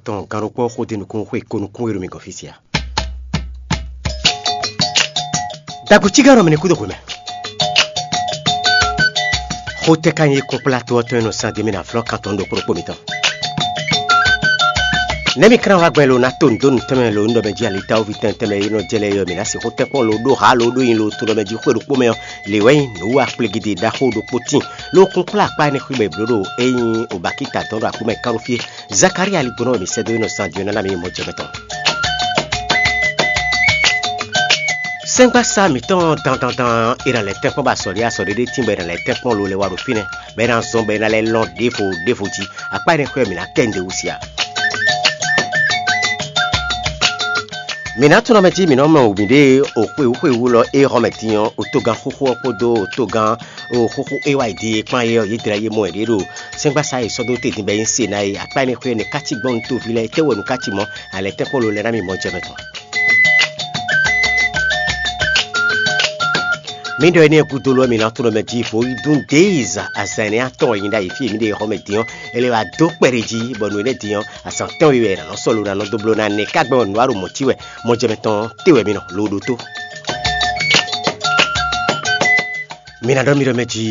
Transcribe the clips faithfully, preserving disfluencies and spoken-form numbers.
tɔn gannukpɔ́ xó dó nukún xwe ko nukún e ɖo mi gɔn fí sia. Dagbo cígán nɔ mɛ ní kúdó xwe mɛ. Xó tɛ́ ka nyí kúnkplá tó ɔ́ tɔn e nɔ sán dó mì ná flɔ́ kan tɔn ɖo kplɔ́kpó mitɔn. Nɛ̌ mi klán wá gbɛn lo ná to nǔ dó nǔ tɛnmɛ lo nú ɖɔ mɛ jí alitawúvi tɛntɛnmɛ e nɔ jɛ lɛ́ɛ ɔ́, mǐ ná sixú tɛ́nkpɔ́n lo ɖó hǎ lo ɖó nyi lo to ɖɔ mɛ jí xwé ɖokpó mɛ ɔ́, lě wɛ nyí nǔ wa kplegidi ɖaxó ɖokpó tíin. Lo kún kplá akpá énɛ́ xwé bɔ è blǒ ɖo é nyí o bakíta dɔn ɖo aklúmɛ kánɖófíé. Zakalía aligbɔnɔ wɛ mǐ sɛ́ dó é nɔ zan jǒ ná ná mǐ mɔ jɛ mɛ tɔn. Sɛ́ngbásá mǐtɔn dandandan è nǎ lɛ́ tɛ́nkpɔ́n bɔ azɔ̌ ɖé azɔ̌ ɖé ɖé tíin bɔ è nǎ lɛ́ tɛ́nkpɔ́n lo lɛ́ wá ɖo fínɛ́, bɔ è nǎ zɔn bɔ è nǎ lɛ́ lɔn ɖěvo ɖěvo jí. Akpá énɛ́ xwé ɔ́, mǐ ná kɛ nǔɖé wú sia. Mǐ ná tunwun mɛ jí mǐ nɔ mɔ wǔ miɖée o xwewú xwewú lɔ e xɔ mɛ din ɔ́, o togán xóxó ɔ́ kpódó o togán o xóxó e wá yi din e kpán é ɔ́, yě dlɛ́ yé mɔ wɛ ɖě ɖo sɛ́ngbásá e sɔ́ dó te din bɔ é nyí Senáyi. Akpá énɛ́ xwé ɔ́, è nǐ ká cí gbɔn nú toví lɛ́ɛ, étɛ́ wɛ nǔ ká cí mɔ̌? Alɛ tɛ́nkpɔ́n lo lɛ́ɛ ná mì mɔ jɛ mɛ tɔn. Mǐ ɖɔ énɛ́ gúdo lɔ mǐ ná tunwun mɛ jí vo yi dún déiza azǎn énɛ́ atɔn e nyi ɖ'ayǐ fí e mǐ ɖe xɔ mɛ din ɔ́, è lɛ wá dó kpɛɖé jí, bɔ nǔ énɛ́ din ɔ́, azǎn tɛ́nwe wɛ è nǎ nɔ sɔ́ lo ná nɔ dó bló ná nɛ́ ká gbɛn ɔ́, nǔ wá ɖo mɔ̌ cí wɛ, mɔ jɛ mɛ tɔn té wɛ mǐ nɔ lo ɖó tó. Mǐ ná ɖɔ mì ɖɔ mɛ jí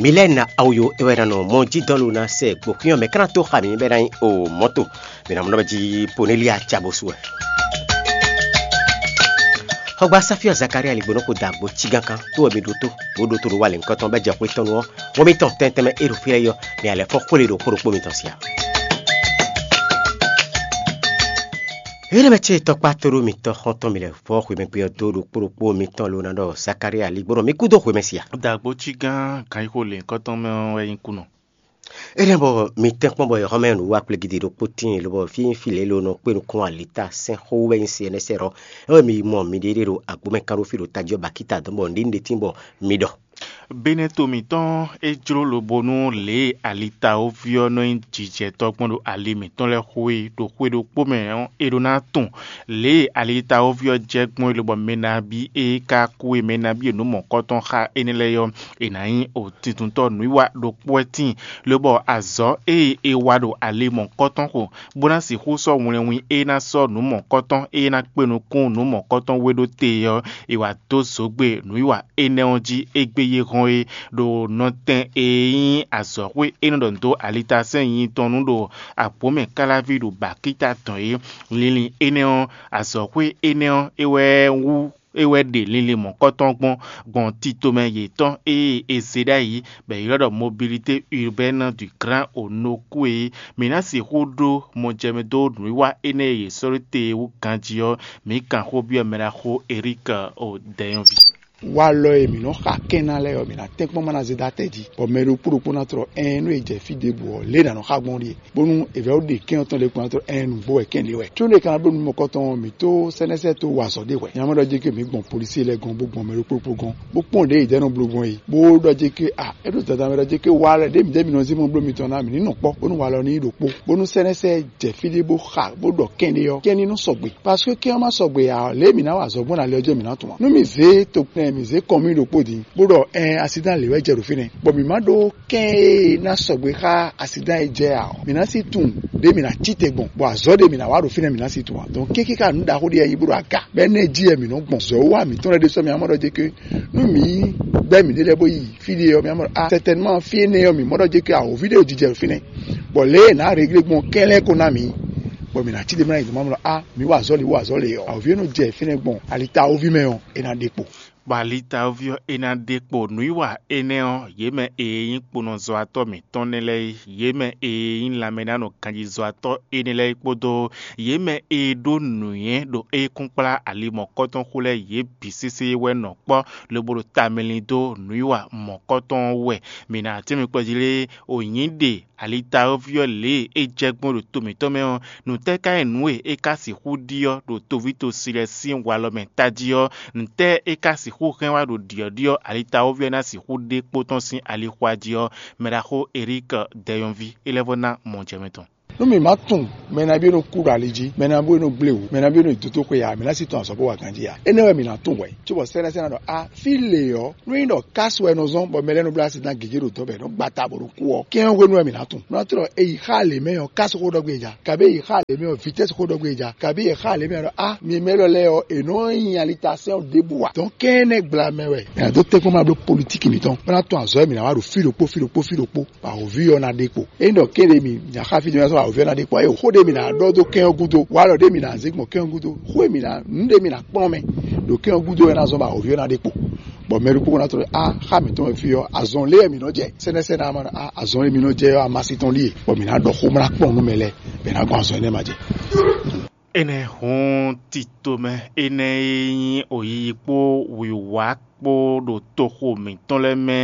Milɛ́na Awuyo é wɛ ná nɔ mɔ jí dɔn lo ná sɛ gbǒxwín ɔ́ mɛ ká ná tó xa mǐ bɔ é ná nyí o mɔ̌to. Mǐ ná mɔ ɖɔ mɛ jí Ponélía Jabosú wɛ. Xɔgbasá fí ɔ́ Zakalía ligbó nɔ ko da agbo cígán kán tó wɛ mi ɖótó, bó ɖótó ɖo wa lěhunkɔtɔn bɔ é jɛ xwé tɔn nu ɔ́, wɔ mitɔn tɛntɛn mɛ é ɖo fí lɛ́ɛ yɔ, mi alɛ fɔ́n xwlé ɖo xó ɖokpó mitɔn sia. Énɛ́ mɛ ce tɔkpá tóɖó mitɔ́ xɔ́ntɔn mi lɛ́ vɔ́ xwemɛgbé ɔ́ dó ɖokpó ɖokpó mitɔn lo ná ɖɔ Zakalía ligbó nɔ mi kú dó xwemɛ sia. Dagbo cígán ganxixo lěhunkɔtɔn mɛ ɔ́ wɛ nyí kú nɔ. Énɛ́ bɔ mi tɛ́nkpɔ́n bɔ yɔ̌xɔ́mɛ nǔwiwa kplégídi ɖokpó tíin lobɔ fí nyí fí lě lo nɔ kpé nukún alita sɛn xó wú wɛ nyí se énɛ́ sɛ́ ɖɔ é wɛ mi yi mɔ miɖée ɖo agbǒmɛ kán ɖó fí ɖo tají ɔ́ bakíta dɔn bɔ nǔɖé nǔɖé tíin bɔ mi ɖɔ. Benɛto mǐtɔn é jló lobo nú lě e alitawoví ɔ́ nɔ nyí jijɛtɔ́ gbɔn ɖo ali mǐtɔn lɛ́ɛ xo é ɖo xwé ɖokpó mɛ ɔ́, è ɖó ná tunwun lě e alitawoví ɔ́ jɛ gbɔn é lobɔ mɛ nabí e ka kú e mɛ nabí e nǔ mɔ̌kɔtɔn xá énɛ́ lɛ́ɛ ɔ́, è nǎ nyí otintɔntɔ́ nǔwiwa ɖokpó wɛ tíin, lobɔ azɔ̌ e è wa ɖo ali mɔ̌kɔtɔn xo, bó ná sixú sɔ́ wlɛnwin e ná sɔ́ nǔ mɔ̌kɔtɔn e ná kpe nukún nǔ mɔ̌kɔtɔn we ɖó te ɔ́, è wǎ dó zǒgbe nǔwiwa énɛ́ ɔ́ jí égbé yě hɔn é, ɖo nɔtɛn e nyí azɔ̌xwé e nɔ ɖɔ nǔ dó alitasɛ́n nyi tɔn nu ɖo agbǒmɛ káláví ɖo bakíta tɔn é. Linlin énɛ́ ɔ́, azɔ̌xwé énɛ́ ɔ́, é wɛ wú é wɛ ɖe linlin mɔ̌kɔtɔn gbɔn gbɔn tito mɛ yětɔn e è zě ɖ'ayǐ, bɔ è ylɔ́ ɖɔ mobilité urbaine du Grand Onoku é. Mǐ ná sixú ɖó mɔjɛmɛ dó nǔwiwa énɛ́ e yě sɔ́ ɖó te é wú ganjí ɔ́, mǐ kan xó byɔ́ mɛɖaxó Erík o dɛnyɔ́ví. Walɔ e mǐ nɔ xa kɛn ná lɛ́ɛ ɔ́, mǐ ná tɛ́nkpɔ́n má ná zé dó atɛ jí, bɔ mɛ ɖokpó ɖokpó ná tlɔ ɛɛn nú è jɛ fí ɖěbǔ ɔ́, lě e è nǎ nɔ xa gbɔn ɔ́ ɖíe, bónú è vɛ́ ɖe kɛ́n ɔ́ tɔn ɖě kpɔ́n ná tlɔ ɛɛn nǔgbó wɛ kɛ́n ɖě wɛ. Có ɖě ka ná bló nǔ mɔ̌kɔtɔn ɔ́, mǐ tó sɛ́nɛ́sɛ́ tó wa azɔ̌ ɖé hwɛ̌. Nyɛ ná mɔ ɖɔ jí ké mǐ gbɔn polisí lɛ́ɛ gɔ́n bó gbɔn mɛ ɖokpó ɖokpó gɔ́n, bó kpɔ́n ɖě è jɛ nɔ bló gbɔn é, bó ɖɔ jí ké a é ɖo dada mɛ ɖɔ jí ké wa lɛ́ɛ ɖě mǐ ɖě mǐ nɔ zé mɔ bló mitɔn ná mǐ ní nɔ kpɔ́, bónú walɔ ní nyí ɖokpó, bónú sɛ́nɛ́sɛ́ jɛ fí ɖé bó xa bó ɖɔ kɛ́n ɖé ɔ́, kɛ́n ní nɔ sɔgbe. Parce que kɛ́n ɔ́ má sɔgbe ǎ, lě e mǐ ná wa azɔ̌ gbɔn ɖo ali ɔ́ jí ɔ́, mǐ ná tunwun ǎ. Nú mǐ zě to kpɛn mǐ zé kɔn mì ɖokpó din, bó ɖɔ ɛn asidán lě wɛ jɛ ɖo fínɛ́, bɔ mǐ má ɖó kɛ́n e ná sɔgbe xá asidán e jɛ ǎ ɔ́, mǐ ná sí tunwun ɖě mǐ ná cí te gbɔn, bɔ azɔ̌ ɖě mǐ ná wa ɖo fínɛ́ mǐ ná sí tunwun ǎ. Donc kéké ká nǔ ɖaxó ɖé yɛ nyí bó ɖo aga, bɔ énɛ́ jí wɛ mǐ nɔ gbɔn. Zɔ̌ wa mǐtɔn lɛ́ɛ ɖésú mǐ ná mɔ ɖɔ jɛ ké nú mǐ gbɛ́ mǐɖée lɛ́ɛ bó yi fí ɖé ɔ́, mǐ ná mɔ ɖɔ a sɛtɛnman fí énɛ́ ɔ́, mǐ mɔ ɖɔ jɛ ké awǒvi ɖé ɖo jijɛ ɖo fínɛ́, bɔ lě e è nǎ réglé gbɔn kɛ́n lɛ́ɛ ko ná mǐ, bɔ mǐ ná cí ɖě mɛ ná yi dɔ̌n má mɔ ɖɔ a mǐ wa azɔ̌ lě, wa azɔ̌ lě ɔ́, awǒvi e nɔ jɛ fínɛ́ gbɔn alitawoví mɛ ɔ́, é ná ɖe kpo. Bɔ alitawoví ɔ́, é ná ɖe kpo nǔwiwa énɛ́ ɔ́, yě mɛ e nyí kponɔzɔ́watɔ́ mǐtɔn nɛ́ lɛ́ɛ é, yě mɛ e nyí lanmɛnánɔ ganjizɔ́watɔ́ énɛ́ lɛ́ɛ é kpódó yě mɛ e ɖó nǔnywɛ́ ɖo ékúnkplá ali mɔ̌kɔtɔn xo lɛ́ɛ, yě bǐ sésé wɛ nɔ kpɔ́ lobo ɖo tamɛ lin dó nǔwiwa mɔ̌kɔtɔn ɔ́ wú wɛ. Mǐ ná tɛ́nmɛ kplɔ́jí lé o nyǐ ɖe alitawoví ɔ́ lě e é jɛ gbɔn ɖo to mǐtɔn mɛ ɔ́, nǔtɛ́ ka nyí nǔ e é ka sixú ɖiɔ́ ɖo toví tosi lɛ́ɛ sín walɔ mɛ tají ɔ́? Nǔtɛ́ é ka sixú hɛn wá ɖo ɖiɔ̌ɖiɔ́ alitawoví ɔ́ ná sixú ɖe kpó tɔn sín alixwa jí ɔ́? Mɛɖaxó Erík Dɛyɔnví é lɛ́ vɔ́ ná mɔ jɛ mɛ tɔn. Nú mǐ ma tunwun mɛ nabí e nɔ kú ɖo ali jí, mɛ nabí e nɔ gblé wǔ, mɛ nabí e nɔ yi dotóxwe ǎ, mǐ ná sí tɔn azɔ̌ bó wa ganjí ǎ. Énɛ́ wɛ mǐ ná tunwun hwɛ̌, cóbɔ sɛ́nɛ́sɛ́nɛ ɖɔ: A, fí lě ɔ́, nú nyí ɖɔ kásu wɛ è nɔ zɔ́n bɔ mɛ lɛ́ɛ nɔ bló asi ná gěgé ɖo dɔ̌ bɔ è nɔ gba ta bó ɖo kú ɔ́, kɛ́n ɔ́ hwenu wɛ mǐ ná tunwun. Mǐ ná tunwun ɖɔ è yi xá lě mɛ ɔ́, kásu xó ɖɔ gbé e ja, kabí è yi xá lě mɛ ɔ́, vitɛ́si xó ɖɔ gbé e ja, kabí è xá lě mɛ ɔ́ ɖɔ: A, mi mɛ élɔ́ lɛ́ɛ ɔ́, è nɔ́ nyi alitasɛ́n ɔ́ ɖěbǔ ǎ. Dɔ̌n kɛ́n énɛ́ gbla mɛ wɛ è nǎ dó tɛ́nkpɔ́n ma bló politikí mǐtɔn, bó ná tunwun azɔ̌ e mǐ ná wa ɖo fí ɖokpó, fí ɖokpó, fí ɖokpó. Bɔ awǒvi ɔ́ ná ɖe kpo. Ényí ɖɔ kéɖé mi nya xá fí din wɛ sɔ́ awǒvi ɔ́ ná ɖe kpo, ée xó ɖé mi ná ɖɔ dó kɛn ɔ́ gúdo, walɔ ɖé mi ná zé gbɔn kɛn ɔ́ gúdo, xó e mi ná nǔ ɖé mi ná kplɔ́n mɛ ɖo kɛn ɔ́ gúdo wɛ ná zɔ́n bɔ awǒvi ɔ́ ná ɖe kpo. Bɔ mɛ ɖokpó ná tlɔ́ ɖɔ: A, xá mǐtɔn wɛ fí ɔ́, azɔn lé wɛ mǐ nɔ jɛ. Sɛ́nɛ́sɛ́nɛ ɔ́, a, azɔn e mi nɔ jɛ ɔ́, amasin tɔn ɖíe, bɔ mǐ ná ɖɔ xó, bó ná kplɔ́n nú mɛ lɛ́ɛ, bɔ è nǎ gbɔn azɔn énɛ́ ma jɛ. Énɛ́ hǔn titomɛ énɛ́ e nyí oyiyi kpó wǐwá kpó ɖo toxo mǐtɔn lɛ́ɛ mɛ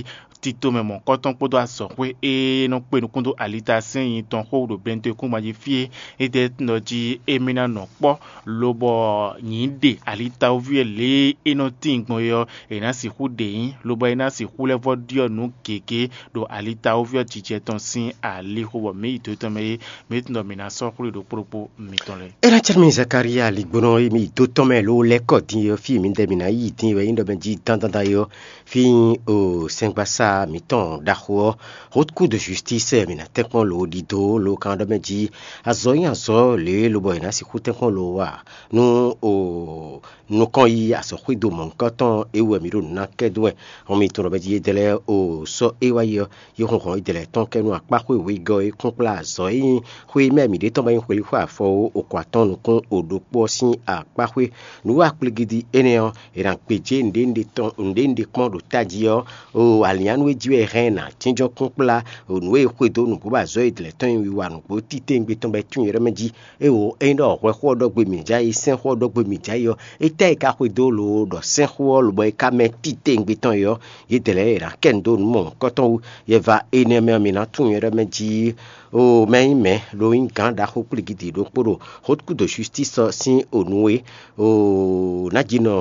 é, titomɛ mɔ̌kɔtɔn kpódó azɔ̌xwé e nɔ kpe nukún dó alitasɛ́n nyi tɔn xó ɖo Bɛntekúngban jí fí é, é ɖe nɔ jí émí ná nɔ kpɔ́, lobɔ nyǐ ɖe alitawúví e lě e é nɔ tíin gbɔn é ɔ́, è nǎ sixú ɖe nyí, lobɔ é ná sixú lɛ́ vɔ́ ɖyɔ́ nǔ gěgé ɖo alitawúví ɔ́ jijɛ tɔn sín alixo, bɔ mǐ yi do tɔn mɛ é, mǐ tunwun ɖɔ mǐ ná sɔ́ xwlé ɖokpó ɖokpó mitɔn lɛ́ɛ. É ná cɛ́ mì Zakalía ligbɔnɔ e mì dó tɔn mɛ ló lɛ́ kɔ din ɔ́, fí e mǐdɛɛ mǐ ná yi din wɛ nyí ɖɔ mɛ jí dandandan é ɔ́, fí nyí o sɛngbasá mǐtɔn ɖaxó ɔ́, Haute Cour de Justice mǐ ná tɛ́nkpɔ́n lǒ ɖidó lǒ kan ɖɔ mɛ jí azɔ̌ nyí azɔ̌ lě e lobɔ è nǎ sixú tɛ́nkpɔ́n lǒ a? Nú o nukɔn yi azɔ̌xwído mɔ̌hunkɔtɔn é wú wɛ mǐ ɖo nǔ ná kɛ dó wɛ. Hɔn mi tunwun ɖɔ mɛ jí yédɛ́ lɛ́ɛ o sɔ́ é wá yi ɔ́, yě hun hɔn yědɛɛ lɛ́ɛ tɔn kɛ nú akpáxwé wěgɔ́ e kún kplá azɔ̌ e nyí xwé mɛ mǐɖée tɔn bɔ nyí xwelíxwé afɔ ó, okɔn atɔ́ɔ́n nukún o ɖokpó ɔ́ sín akpáxwé. Nǔ wa kplígídí énɛ́ ɔ́, è nǎ gbějé nǔɖé nǔɖé tɔn nǔɖé nǔɖé kpɔ́n ɖo tají ɔ́, o alǐnnyánú e jí wɛ è hɛn ɛ nǎ jínjɔ́n kún kplá o nǔ e è xwedó nǔgbó bɔ azɔ̌ yědɛɛ lɛ́ɛ tɔn nyí wiwa nǔgbó titewungbe tɔn bɔ é tunwun nyɛ ɖɔ mɛ jí. Éwo, ényí ɖɔ hwɛxó ɔ́ ɖɔ gbe mǐ jɛ ayǐ, sɛ́nxó ɔ́ ɖɔ gbe mǐ jɛ ayǐ ɔ́, étɛ́ e ka xwedó lǒ ɖɔ sɛ́nxó ɔ́ lobɔ é ka mɛ titewungbe tɔn é ɔ́, yědɛɛ lɛ́ɛ è nǎ kɛ nǔ dó nǔ mɔ̌hunkɔtɔn wú. Yɛ va énɛ́ mɛ ɔ́, mǐ ná tunwun nyɛ ɖɔ mɛ jí. O mɛ nyí mɛ ɖo nyí gǎn ɖaxó kplígídí ɖokpó ɖo Haute Cour de Justice ɔ́ sín o nǔ e o ná jí nɔ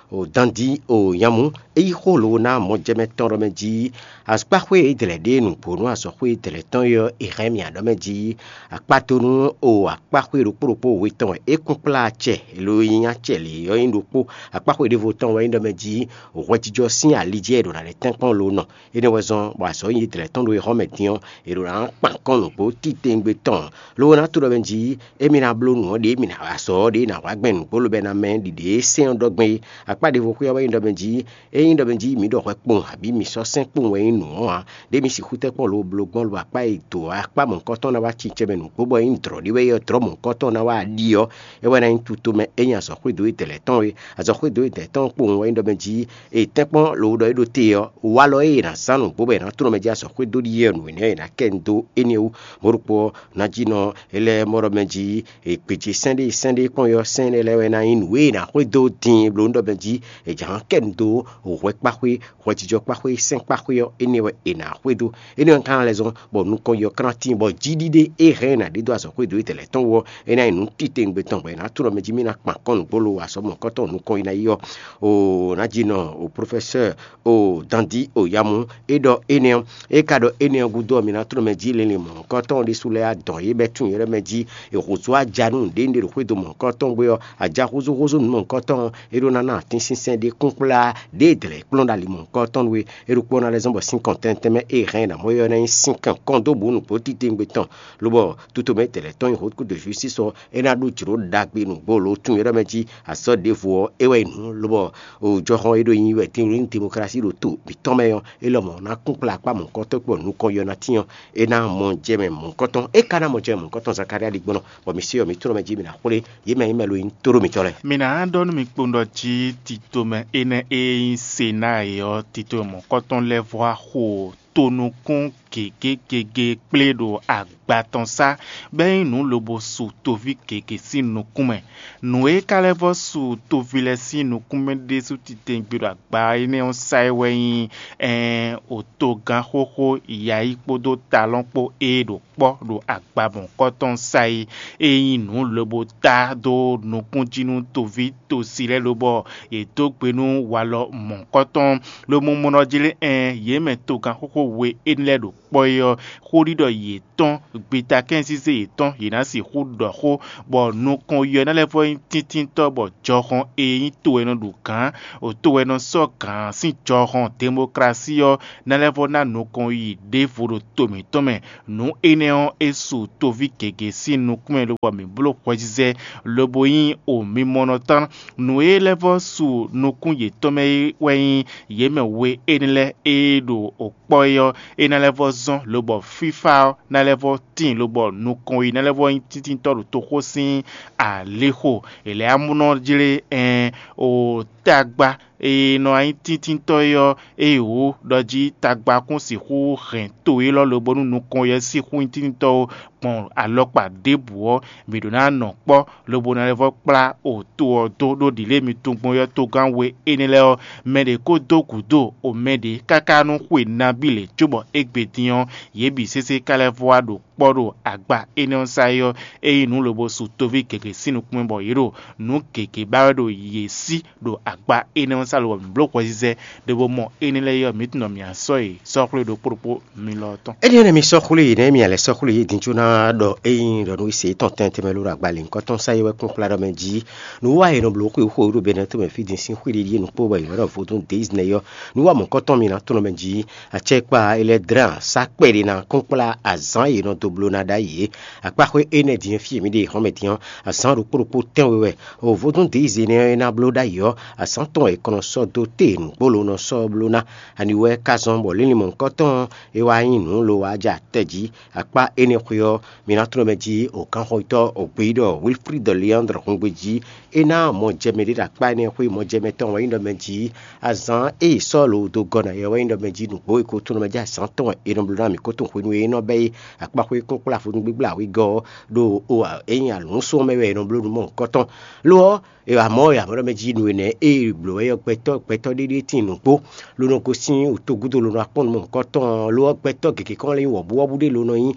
o dandi o nyamú. É yí xó lǒ ná mɔjɛmɛ tɔn ɖɔ mɛ jí. Akpáxwé e dlɛ̌ ɖe nǔgbó nú azɔ̌xwé e dlɛ̌ tɔn é ɔ́, è hɛn mì aɖɔ mɛ jí. Akpá dó nú o akpáxwé ɖokpó ɖokpó we tɔn wɛ é kún kplá acɛ, lo e nyí acɛ lě ɔ́ nyí ɖokpó. Akpáxwé ɖěvo tɔn wɛ nyí ɖɔ mɛ jí hwɛjijɔ sín ali jí wɛ è ɖo ná lɛ́ tɛ́nkpɔ́n lo nɔ. Énɛ́ wɛ zɔ́n bɔ azɔ̌ nyi dlɛ̌ tɔn ɖo e hɔ́n mɛ din ɔ́, è ɖo ná kpan kɔn nǔgbó titewungbe tɔn. Lo ná to ɖɔ mɛ jí émí ná bló nǔ ɔ́ ɖě mǐ ná wa azɔ̌ ɔ́ ɖě ná hwá gbɛn nǔgbó lobɛ ná mɛ ɖiɖě e sɛ́n ɔ́ ɖɔ gbɛn é. Akpá ɖěvo xwé ɔ́ wɛ nyí ɖɔ mɛ jí, ényí ɖɔ mɛ jí mǐ ɖɔ hwɛ kpowun abǐ mǐ sɔ́ sɛ́n kpowun wɛ nyí nǔ ɔ́ ǎ, ɖě mi sixú tɛ́ kpɔ́n lo bló gbɔn lo akpá e dǒ akpá mɔ̌hunkɔtɔn ná wá cincɛ́n mɛ nǔgbó bɔ é nyí dlɔ̌ ɖé wɛ é ɔ́, dlɔ̌ mɔ̌hunkɔtɔn ná wá ɖi ɔ́, é wɛ ná nyí tutomɛ é nyí azɔ̌xwédo e dɛ̌ lɛ́ɛ tɔn é. Azɔ̌xwédo e dɛ̌ tɔn kpowun wɛ nyí ɖɔ mɛ jí è tɛ́nkpɔ́n lo ɖɔ é ɖo te ɔ́, walɔ e è nǎ zán nǔgbó bɔ è nǎ tlɔ́n mɛ jí azɔ̌xwédo ɖíe ɔ́, nǔ énɛ́ ɔ́ è nǎ kɛ nyi dó énɛ́ wú. Mɔ̌ ɖokpó ɔ́, ná jí nɔ é lɛ́ mɔ ɖɔ mɛ jí è gbějé sɛ́n ɖé sɛ́n ɖé kpɔ́n ɔ́, sɛ́n énɛ́ lɛ́ɛ wɛ ná nyí nǔ e è nǎ xwedó din bló ɖɔ mɛ jí è jǎ kɛ nyi dó hwɛ kpáxwé, hwɛjijɔ kpáxwé, sɛ́n kpáxwé ɔ́, énɛ́ wɛ è nǎ xwedó. Énɛ́ ɔ́ ka ná lɛ́ zɔ́n bɔ nukɔn yi ɔ́ ka ná tíin bɔ jí ɖíɖé e hɛn ɛ ná ɖe dó azɔ̌xwédo e tɛlɛ tɔn wú ɔ́, é ná nyí nǔ titewungbe tɔn bɔ è nǎ tlɔ́n mɛ jí mì ná kpan kɔn nǔgbó lo azɔ̌ mɔ̌hunkɔtɔn nukɔn yi ná yi ɔ́. O ná jí nɔ o profɛsɛ́ɛ o dandi o yamu é ɖɔ énɛ́ ɔ́, é ka ɖɔ énɛ́ ɔ́ gúdo ɔ́, mi ná tlɔ́n mɛ jí linlin mɔ̌hunkɔtɔn ɖésú lɛ́ɛ adɔn yě bɛ́ tunwun yě ɖɔ mɛ jí è hǒzú aja nú nǔɖé nǔɖé ɖo xwédo mɔ̌hunkɔtɔn gbé ɔ́, aja húzúhúzú nǔ mɔ̌hunkɔtɔn ɔ́, é ɖó ná ná atínsínsɛ́n ɖé kúnkplá ɖě dlɛ̌ kplɔ́n ɖo ali mɔ̌hunkɔtɔn wú é. É ɖokpó ná lɛ́ zɔ́n bɔ sín kɔn tɛntɛn mɛ é hɛn ná mɔ é ɔ́ ná nyí sín kɔn kɔn dó bǔ nǔgbó titewungbe tɔn, lobɔ tutomɛ tɛlɛ tɔn nyi hǒkúdo justice ɔ́, é ná ɖó jlǒ ɖagbe nǔgbó lo tunwun é ɖɔ mɛ jí azɔ̌ ɖěvo ɔ́, é wɛ nyí nǔ, lobɔ o jɔhɔn e ɖo nyi wɛ din ɖo nyi demokrasi ɖo to mǐtɔn mɛ ɔ́, é lɔmɔ̌ ná kún kplá akpá mɔ̌hunkɔtɔn kpó nukɔn yɔ ná tín ɔ́, é ná mɔ jɛ mɛ mɔ̌hunkɔtɔn. É ka ná mɔ jɛ mɛ mɔ̌hunkɔtɔn Zakalía ɖi gbɔn, bɔ mi se ɔ́, mi tlɔ́n mɛ jí mi ná xwlé yě mɛ nyí mɛ lo nyí tóɖó mǐtɔn lɛ́ɛ. Mi ná ɖɔ nú mi kpowun ɖɔ jí titomɛ énɛ́ e nyí Senáa é ɔ́, titomɛ mɔ̌hunkɔtɔn lɛ́ɛ vɔ́ wá xo tonukún gěgé gěgé kplé ɖo agba tɔn sá, bɔ é nyí nǔ lobo su toví gěgé sín nukún mɛ. Nǔ e ka lɛ́ vɔ́ su toví lɛ́ɛ sín nukún mɛ ɖésú titewungbe ɖo agba énɛ́ ɔ́ sá é wɛ nyí ɛɛn otogán xóxó yǎyi kpódó talɔ́n kpó e ɖo kpɔ́ ɖo agba mɔ̌hunkɔtɔn sá é. É nyí nǔ lobo tá dó nukún jí nú toví tosi lɛ́ɛ lobɔ yě dó gbe nú walɔ mɔ̌hunkɔtɔn, lobo mɔ nɔ jlé ɛɛn yě mɛ togán xóxó we énɛ́ lɛ́ɛ ɖo kpɔ́ é ɔ́, xóɖiɖɔ yětɔn, gbitakɛ́nzízé yětɔn, yě ná sixú ɖɔ xó, bɔ nukɔn yɔ ná lɛ́ vɔ nyí tíntíntɔ́, bɔ jɔhɔn e nyí to e nɔ ɖu gǎn, o to e nɔ sɔ́ gǎn sín jɔhɔn, demoklasí ɔ́, ná lɛ́ vɔ ná nukɔn yi ɖěvo ɖo to mǐtɔn mɛ. Nǔ énɛ́ ɔ́, é su toví gěgé sín nukún mɛ, lobɔ mǐ bló hwɛzizɛ, lobo nyí o mimɔnɔ tɔn. Nǔ e lɛ́ vɔ su nukún yětɔn mɛ é wɛ nyí yě mɛ we énɛ́ lɛ́ɛ e ɖo kpɔ́ é ɔ́, é ná lɛ́ vɔ zɔ́n, lobɔ fífá ɔ́ ná lɛ́ vɔ tíin, lobɔ nukɔn yi ná lɛ́ vɔ nyí tíntíntɔ́ ɖo toxo sín alixo. È lɛ́ amúnɔ jlé ɛn o tagba e nɔ nyí tíntíntɔ́ é ɔ́, ée wǒ ɖɔ jí tagba kún sixú hɛn to élɔ́ lobo nú nukɔn yɛ sixú nyí tíntíntɔ́ ó, gbɔn alɔkpa ɖěbǔ ɔ́, mǐ ɖó ná nɔ kpɔ́, lobo ná lɛ́ vɔ kplá o to ɔ́ dó ɖó ɖǐlé mi tunwun gbɔn yɔ́ togán we énɛ́ lɛ́ɛ ɔ́, mɛ ɖě ko dó gǔdo o mɛ ɖě káká nú xwe nabí lě cóbɔ égbé dín ɔ́, yě bǐ sésé ka lɛ́ vɔ wá ɖo kpɔ́ ɖo agba énɛ́ ɔ́ sá é ɔ́, é nyí nǔ lobo su toví gěgé sín nukún mɛ bɔ yě ɖo nǔ gěgé ba wɛ ɖo yě sí ɖo agba énɛ́ ɔ́ sá lobɔ mǐ bló hwɛzizɛ ɖěvo mɔ énɛ́ lɛ́ɛ é ɔ́, mǐ tunwun ɖɔ mǐ ná sɔ́ yě sɔ́ xwlé ɖokpó ɖokpó mi lɔ tɔn. Énɛ́ ɔ́, mi sɔ́ xwlé yě nɛ́, mi lɛ́ sɔ́ xwlé yě din có ná ɖɔ ényí ɖɔ nú se yětɔn tɛntɛn mɛ ló ɖo agba lěhunkɔtɔn sá é wɛ kún kplá ɖɔ mɛ jí. Nǔ wa è nɔ bló xwé xo ɖo Bɛnɛ́ tomɛ fí din sín xwé ɖiɖi e nukpó bɔ è nɔ ɖɔ vodún déizínɛ ɔ́. Nǔ wa mɔ̌kɔtɔn mi ná tlɔ́n mɛ jí. Acɛkpa e lɛ́ dlán sá kpɛɖé ná kún kplá azǎn e è nɔ dó bló ná ɖ'ayǐ é. Akpáxwé énɛ́ din fí e mǐ ɖe hɔn mɛ din ɔ́, azǎn ɖokpó ɖokpó tɛ́nwe wɛ. O vodún déizínɛ ɔ́ e ná bló ɖ'ayǐ ɔ́, azǎn tɔn wɛ è kɔn nɔ sɔ́ dó te nǔgbó ló nɔ sɔ́ bló ná. Ani wɛ ka zɔn bɔ línlin mɔ̌hunkɔtɔn ɔ́, é wá nyí nǔ lo wá ja tɛ jí. Akpá énɛ́ xwé ɔ́, mi ná tlɔ́n mɛ jí òkánxɔyítɔ́ ògbéyíɖɔ Wilfrid Leandre hungbe jí. É ná mɔ jɛ mɛ ɖé ɖo akpá énɛ́ xwé mɔ jɛ mɛ tɔn wɛ nyí ɖɔ mɛ jí. Azǎn e è sɔ́ lǒ dó gɔ́ ná yɛ wɛ nyí ɖɔ mɛ jí nǔgbó e ko tlɔ́n mɛ jí azǎn tɔn wɛ è nɔ bló ná mǐ ko tunwun hwenu e é nɔ bɛ́ é. Akpáxwé kún kplá vodún gbígbla wegɔ́ ɔ́ ɖo o ényí alǔnsún ɔ́ mɛ wɛ è nɔ bló nǔ mɔ̌hunkɔtɔn. Lo ɔ́, e wǎ mɔ e amɔ̌ ɖɔ mɛ jí nǔ énɛ́ e è blǒ wɛ ɔ́, gbɛtɔ́ gbɛtɔ́ ɖé ɖíe tíin nǔgbó, ló nɔ gosín wǔtogúdo ló nɔ akpɔ́n nǔ mɔ̌hunkɔtɔn, lo ɔ́, gbɛtɔ́ gěgé kɔn lɛ́ nyí wɔ̌buwɔ́bú ɖé ló nɔ nyí,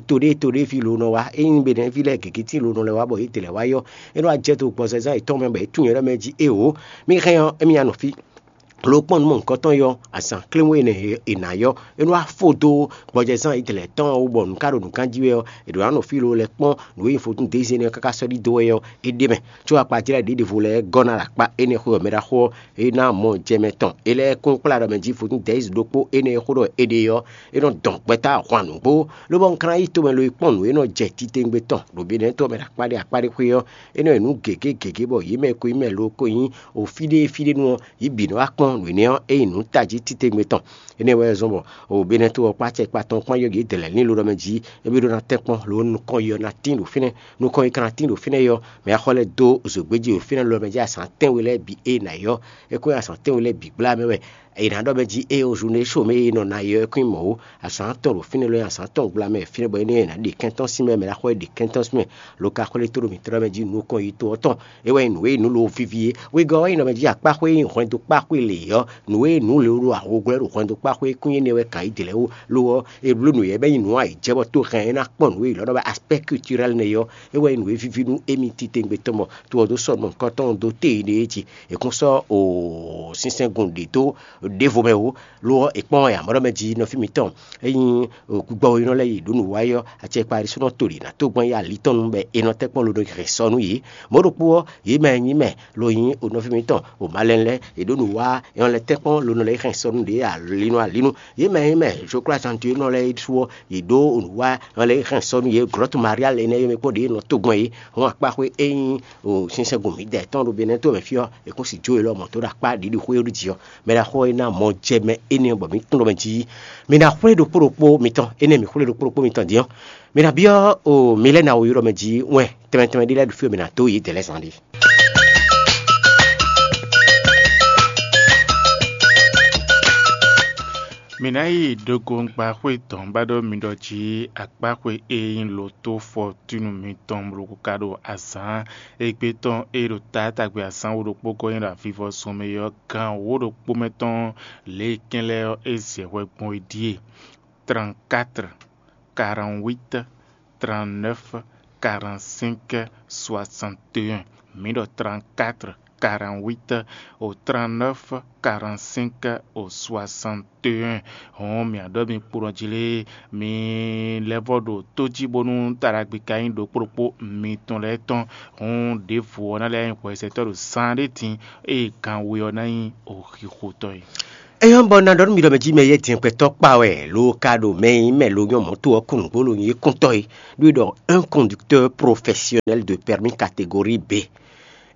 to ɖé to ɖé ví ló nɔ wá. Ényí mɛ ɖɛ̌ví lɛ́ɛ gěgé tíin ló nɔ lɛ́ wá bɔ yě dlɛ̌ wá yɔ́, é nɔ wá jɛ dó gbɔzɛzán yětɔn mɛ bɔ é tunwun yɛ ɖɔ mɛ jí: Éeǒ, mì hɛn ɔ́, émí nya nɔ fí. Lo kpɔ́n nǔ mɔ̌hunkɔtɔn yɔ́, azǎn kléwún énɛ́ e è nǎ yɔ́, é nɔ wá fó dó gbɔjɛzán yědɛlɛ̌ tɔn ɔ́ wú bɔ nǔ ka ɖo nǔ gán jí wɛ ɔ́, è ɖǒ ná nɔ fí lo lɛ́ kpɔ́n nǔ e nyí vodún dézé énɛ́ ɔ́ káká sɔ́ ɖidó wɛ ɔ́, é ɖ'é mɛ. Có akpajlɛ́ ɖěɖěvo lɛ́ɛ gɔ́ ná ɖo akpá énɛ́ xwé ɔ́ mɛ ɖaxó ɔ́, é ná mɔ jɛ mɛ tɔn. É lɛ́ kún kplá ɖɔ mɛ jí vodún dɛ̌yiz ɖokpó énɛ́ e xó ɖɔ è ɖe ɔ́, é nɔ dɔn gbɛtɔ́ ahwan nǔgbó, lobɔ un ka ná yi tomɛ lo yi kpɔ́n nǔ e nɔ jɛ titewungbe tɔn ɖo Benɛ́ɛ to ɔ́ mɛ ɖo akpá ɖé akpá ɖé xwé ɔ́, é nɔ yi nǔ gěgé gěgé bɔ yě mɛ e ko nyí mɛ lo ko nyí o fí ɖé fí ɖé nu ɔ́, yě bǐ nɔ wá kpɔ́n nǔ énɛ́ ɔ́, é yi nǔ tají titewungbe tɔn. Énɛ́ wɛ zɔ́n bɔ o Benɛ́ɛ to ɔ́ kpó acɛkpa tɔn kpán yɔ́ yě dɛ̌ lɛ́ɛ lín lo ɖɔ mɛ jí, é bí ɖó ná tɛ́nkpɔ́n lo nukɔn yi ɔ́ ná tín ɖo fínɛ́. Nukɔn yi ka ná tín ɖo fínɛ́ yɔ́, mɛ axɔ lɛ́ɛ dó zǒgbéjí ɖo fínɛ́ lo ɖɔ mɛ jí azǎn tɛ́nwe lɛ́ɛ bǐ é ná yɔ́. É kó nyí azǎn tɛ́nwe lɛ́ɛ bǐ gbla mɛ wɛ è nǎ ɖɔ mɛ jí ée o zǔnɖé só mɛ e nɔ ná yɔ é kún nyí mɔ̌ ó. Azǎn tɔn ɖo fínɛ́ lɔ nyí azǎn tɔn gbla mɛ fínɛ́ bɔ énɛ́ è nǎ ɖe kɛntɔ́ sín mɛ, mɛ ɖaxó e ɖe kɛntɔ́ sín mɛ lo ka xwlé tó ɖo mǐtɔn ɖɔ mɛ jí nukɔn yi to ɔ́ tɔn. É wɛ nyí nǔ e nǔ lo víví é. Wegɔ́ ɔ́ nyí nɔ mɛ jí akpáxwé e nyí hwɛndo kpáxwé lě ɔ́, nǔ e nǔ lě ɖo awo glɔ́ ɖo hwɛndo kpáxwé kún nyí énɛ́ wɛ kan yí dě lɛ́ɛ ó. Lo ɔ́, è bló nǔ yɛ bɔ é nyí nǔ ayǐjɛ bɔ tó hɛn é ná kpɔ́n nǔ e è lɔ́ ɖɔ wɛ aspɛ́ kulturɛ́l nɛ́ ɔ́, é wɛ nyí nǔ e víví nú émí titewungbe tɔn bɔ to ɔ́ dó sɔ́ nɔ nukɔn tɔn dó téi ɖé é jí. È kún sɔ́ o sínsɛ́ngun ɖě dó ɖěvo mɛ ó. Lo ɔ́, è kpɔ́n wɛ amɔ̌ ɖɔ mɛ jí nɔví mǐtɔn, ényí gbɔgbɔ e nɔ lɛ́ yi ɖǒ nǔ wa é ɔ́, acɛkpa ɖésúnɔ to ɖě ná tó gbɔn yi ali tɔn nu bɔ è nɔ tɛ́nkpɔ́n lo nɔ hɛn sɔ nú yě. Mɔ̌ ɖokpó ɔ́, yě mɛ e nyí mɛ lo nyí o nɔví mǐtɔn o malɛn lɛ́ɛ, è ɖǒ nǔ wa é nɔ lɛ́ tɛ́nkpɔ́n lo nɔ lɛ́ hɛn sɔ nú ɖě alinu alinu. Yě mɛ e nyí mɛ zokplázantu e nɔ lɛ́ɛ su ɔ́, yě ɖó nǔ wa é nɔ lɛ́ hɛn sɔ nú yě. Glɔ̌tu Maria lɛ́ɛ nɛ́ yɔ́ mɛ kpɔ́n ɖě nɔ tó gbɔn yě. Hɔn akpáxwé e nyí o sínsɛ́ngun mǐdɛɛ tɔn ɖo Benɛ́ to mɛ fí ɔ́, è kún si jó élɔ́ mɔ tó ɖo akpá ɖiɖi xwé ɔ́ ɖo jǐ ɔ́. Mɛ ɖaxó ɔ́ e ná mɔ jɛ mɛ énɛ́ bɔ mǐ tunwun ɖɔ mɛ jí mi ná xwlé ɖokpó ɖokpó mitɔn, énɛ́ mǐ xwlé ɖokpó ɖokpó mitɔn din ɔ́, mi ná byɔ́ o mi lɛ́ ná wǒ ylɔ́ mɛ jí wɛn tɛnmɛ tɛnmɛ ɖé lɛ́ɛ ɖo fí ɔ́, mi ná dó yě dɛ̌ lɛ́ɛ zán ɖé. Mǐ ná yi ɖokɔngba xwé dɔ̌n ba ɖɔ mi ɖɔ jí akpáxwé e nyí lǒtó fɔtúnu mitɔn bló ka ɖo azǎn égbé tɔn e ɖo taátagbe azǎn wǒ ɖokpó gɔ́ nyi ɖo avivɔsun mɛ ɔ́, gan wǒ ɖokpó mɛ tɔn lě e kɛn lɛ́ɛ ɔ́, é zɛ hwɛ gbɔn é ɖíe: trente-quatre, quarante-huit, trente-neuf, quarante-cinq, soixante et un. Mǐ ɖɔ trente-quatre, quarante-huit au trente-neuf quarante-cinq au soixante et un. Hɔn mǐ ɖɔ mi kplɔ́n jí lé, mi lɛ́ vɔ ɖo tó jí bónú taɖagbe ka nyí ɖokpó ɖokpó mitɔn lɛ́ɛ tɔn. Hɔn ɖěvo ɔ́ ná lɛ́ nyí hwɛsɛtɔ́ ɖo zán ɖé din, ée gan we ɔ́ ná nyí oxixotɔ́ é. Éyɔ́ bɔ ná ɖɔ nú mi ɖɔ mɛ jí mɛ yɛ́ din gbɛtɔ́ kpa wɛ lo ka ɖo mɛ e nyí mɛ lo nyɔ́ mɔ̌to ɔ́ kún nǔgbó lo nyí kúntɔ́ é, ɖó é ɖɔ un conducteur professionnel de permis catégorie B.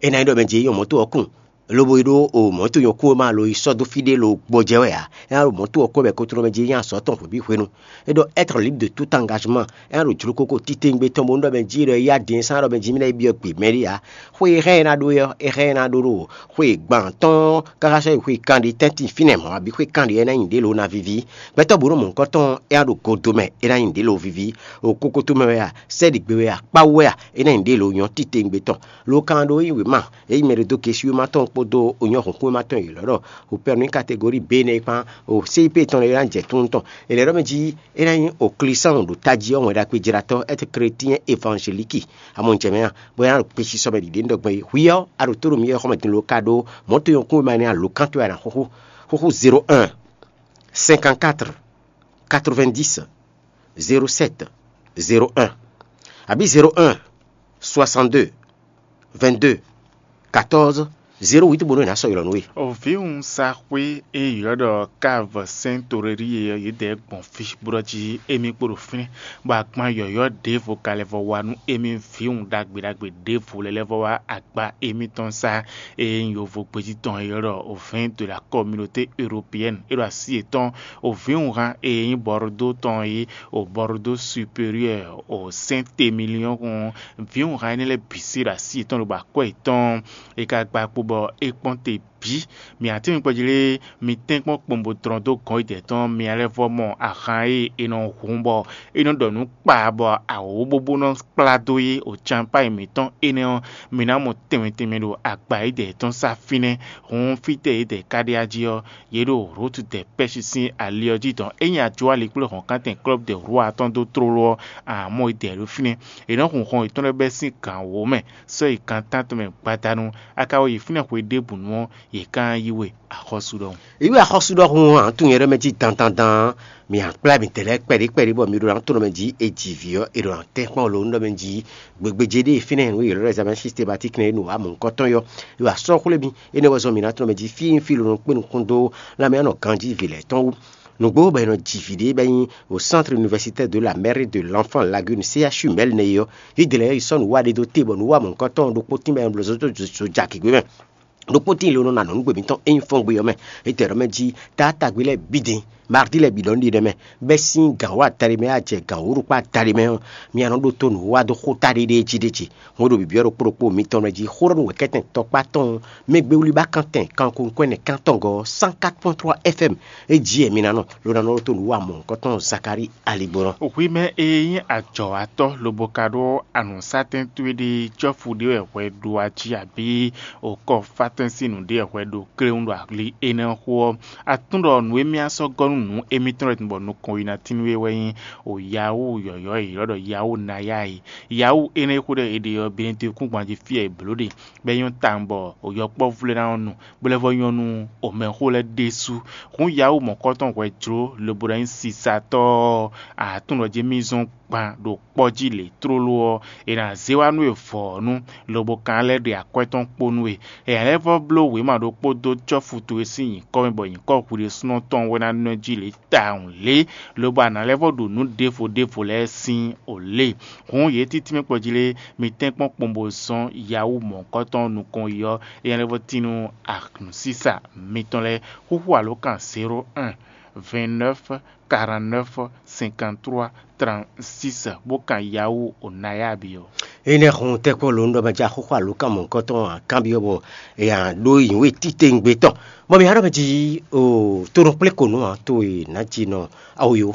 É ná nyí ɖɔ mɛ jí é nyɔ́ mɔ̌to ɔ́ kún, lobo yi ɖó o mɔ̌to nyɔ́ kún e ma lo yi sɔ́ dó fí ɖé lo gbɔjɛ́ wɛ ǎ. É ná ɖo mɔ̌to ɔ́ kún wɛ bɔ é ko tlɔ́ mɛ jí é nyí azɔ̌ tɔn hwebǐ hwenu. É ɖɔ être libre de tout engagement, é ná ɖo jlokoko titewungbe tɔn bónú ɖɔ mɛ jí é ɖɔ é yá din é sán ɖɔ mɛ jí mɛ ná yi byɔ́ gbe mɛ ɖé ǎ. Xwe e hɛn ɛ ná ɖó é ɔ́, é hɛn ɛ ná ɖó ɖo xwe gban tɔn káká sɔ́ yi xwe kanɖi tɛ́ntin fínɛ́ mɔ̌, abǐ xwe kanɖi ɔ́ ná nyi ɖě lo ná víví. Gbɛtɔ́ bǔ nɔ mɔ̌hunkɔtɔn ɔ́, é ná ɖo godo mɛ, é ná nyi ɖě lo víví. O kokoto mɛ wɛ a, sɛ́ɖigbe wɛ a, kpáwú wɛ a, é ná nyi ɖě lo nyɔ́ titewungbe tɔn. Lo kan ɖó yí wěma, é nyí mɛ ɖé dó gesi wéma tɔn kpódó o nyɔ́ hǔnkún wéma tɔn yě lɔ́ ɖɔ o pɛ́nú nyí kategóri B nɛ́ é kpán, o C I P tɔn lɛ́ɛ é ná jɛ tún tɔn. È lɛ̌ ɖɔ mɛ jí é ná nyí o Klísánu ɖo tají ɔ́ wɛn ɖagbe jlatɔ́, être chrétien évangélique. Amɔ un jɛ mɛ a, bɔ é ná ɖo kpesisɔ mɛ ɖiɖe un ɖɔ gbɔn é. Hwi ɔ́, a ɖo tó ɖo mì wɛ xɔmɛ din lo ka ɖó mɔ̌ to nyɔ́kún e ma nɛ́ alo kan towe a nǎ xúxú. Xúxú zéro un, cinquante-quatre, quatre-vingt-dix, zéro sept, zéro un, abǐ zéro un, soixante-deux, vingt-deux, quatorze, zéro huit bónú è nǎ sɔ́ ylɔ̌ nú we. Vǐwunsaxwé e ylɔ́ ɖɔ Káv Sɛ́n Torélie ɔ́, yědɛɛ gbɔn fí bó ɖɔ jí émí kpo ɖo fínɛ́, bɔ agban yɔ̌yɔ́ ɖěvo ka lɛ́ vɔ wá nú émí vǐwun ɖagbe ɖagbe ɖěvo lɛ́ɛ lɛ́ vɔ wá agba émítɔn sá. E nyí yovo gbéjí tɔn e ylɔ́ ɖɔ Vin de la Communauté Européenne, é ɖo así yětɔn, o vǐwunhan e nyí Bordeaux tɔn é, o Bordeaux Supérieur, o Saint-Émilion, vǐwunhan énɛ́ lɛ́ɛ bǐ sí ɖo así yětɔn lobo akwɛ́ yětɔn. É ka gba kpo bɔ é kpɔ́n te bǐ. Mǐ ǎ tín mi kpɔ́ jí lé, mi tɛ́nkpɔ́n kpɔ́n bó tlɔ́n dó gɔ̌n yědɛɛ tɔn, mi ná lɛ́ vɔ mɔ ahan e è nɔ hun bɔ é nɔ ɖɔ nǔ kpa bɔ awǒ bóbó nɔ kplá dó é, o campáyi mǐtɔn énɛ́ ɔ́, mi ná mɔ tɛnmɛ tɛnmɛ ɖo agba yědɛɛ tɔn sá fínɛ́. Hǔn fítɛ́ yědɛɛ ka ɖe ají ɔ́, yě ɖo Route des Pêches sín ali ɔ́ jí dɔn. Ényí a jó ali kplé hɔ̌nkántɛn Club de Roi tɔn dó tlóló ɔ́, a nǎ mɔ yědɛɛ ɖo fínɛ́. È nɔ́ hun hɔn yětɔn lɛ́ɛ bɛ́ sín gan wǒ mɛ, sɔ́ yi gan tántɔn mɛ gbadanu. A ka wɔ yi fínɛ́ hwe ɖěbǔnu ɔ́, yě ka ná yí we axɔ́sú ɖɔhun. Yě wɛ axɔ́sú ɖɔhun ǎ, tun nyɛ ɖɔ mɛ jí dandandan. Mi a kplá mi tɛlɛ kpɛɖé kpɛɖé bɔ mi ɖo ná tonɔ mɛ jí e ji vǐ ɔ́, e ɖo ná tɛ́n kpɔ́n lo nú ɖɔ mɛ jí gbegbeje ɖé fínɛ́ nú yě lɔ́ examen systématique nɛ́ nú amɔ̌kɔtɔn yɔ. Yě wɛ asɔ́ xwlé mi, énɛ́ wɛ zɔn mi ná tonɔ mɛ jí fí fí lo nɔ kpé nukún dó lanmɛ nɔ ganjí vǐ lɛ́ɛ tɔn wú. Nǔgbó bɔ è nɔ ji vǐ ɖé bɔ é nyí au Centre Universitaire de la Mère et de l'Enfant Lagune, C H U Mɛlnɛ é ɔ́, yě dě lɛ́ɛ yi sɔ́ nǔ wa ɖé dó te bɔ nǔ wa mɔ̌hunkɔtɔn ɖokpó tínbɔ è nɔ bló zó dó zo ja gěgbe mɛ. Ɖokpó tíin lo nɔ na nɔ nǔgbé mǐtɔn é nyí fɔ́ngbe ɔ́ mɛ. Étɛ́ ɖɔ mɛ jí taátagbe lɛ́ɛ bǐ din, mardi lɛ́ɛ bǐ ɖɔ nú ɖi ɖɛ mɛ, bɛ́ sín gǎn wǒ adaɖé mɛ, a jɛ gǎn wǒ ɖokpó adaɖé mɛ ɔ́, mi a nɔ ɖótó nǔ wa dó xóta ɖéɖéé jí ɖé ce. Hɔn ɖo bǐbí ɔ́ ɖokpó ɖokpó mitɔn lɛ́ɛ jí xó ɖɔ nú wɛ̌kɛ́tɛn tɔkpá tɔn mɛ gbé wlí ba kántɛn kankunkwɛ́nɛ́ kántɔn gɔ́ cent quatre point trois F M é jí ɛ mi ná nɔ, lo ná nɔ ɖótó nǔ wa mɔ̌hunkɔtɔn Zakalíi aligbɔnɔ. Hwi mɛ e nyí ajɔ̌watɔ́ lobo ka ɖó anǔsatɛn towe ɖé cɔ́fu ɖé wɛ hwɛ ɖo ají abǐ okɔ fátɛ́n sín nǔɖé wɛ hwɛ ɖo kléwún ɖo ali énɛ́ xó ɔ́, a tunwun ɖɔ nǔ e mì a sɔ́ gɔ́ nú nǔ émítɔn lɛ́ɛ bɔ nukɔn yi ná tín nú we wɛ nyí o Yahoo yɔ̌yɔ́ e è ylɔ́ ɖɔ Yahoo naya e. Yahoo énɛ́ e xó ɖɔ è ɖe ɔ́, Benedikúngban jí fí e è blǒ ɖe, bɔ é nyɔ́ tawun bɔ o yɔkpɔ́vú lɛ́ɛ ná nɔ nu, bó lɛ́ vɔ nyɔ́ nú o mɛxó lɛ́ɛ ɖésú. Hǔn Yahoo mɔ̌kɔtɔn hwɛ jló lobo ná nyí sisatɔ́ ɔ́, a tunwun ɖɔ jí mì zɔ́n gban ɖo kpɔ́ jí lě tlóló ɔ́, è nǎ zé wá nú we vɔ̌nu, lobo ka ná lɛ́ ɖe akwɛ́ tɔn kpo nú we. È nǎ lɛ́ vɔ bló wěma ɖokpó dó cɔ́fu towe sín nyǐkɔ mɛ, bɔ nyǐkɔ hwiɖésúnɔ tɔn wɛ ná nɔ jí lě tawun lě, lobo a nǎ lɛ́ vɔ ɖo nǔ ɖěvo ɖěvo lɛ́ɛ sín o lě. Hǔn yě títí mɛ kpɔ́ jí lé, mi tɛ́nkpɔ́n kpɔ́n bó zɔ́n Yahoo mɔ̌hunkɔtɔn nukɔn yi ɔ́, é nǎ lɛ́ vɔ tín nú anǔsísa mitɔn lɛ́ɛ. Xúxú alǒkan zéro un, vingt-neuf, quarante-neuf, cinquante-trois, trente-six, bó kan Yahoo o naya bǐ ɔ́. Énɛ́ hun tɛ́kpɔ́ lǒ nú ɖɔ mɛ jí axóxó alǒkan mɔ̌hunkɔtɔn akanbyɔ́ bɔ è nǎ ɖó nyǐwe títewungbe tɔn. Bɔ mǐ ná ɖɔ mɛ jí o tonɔ kplé ko nǔ ǎ, to e nǎ jí nɔ awo yo.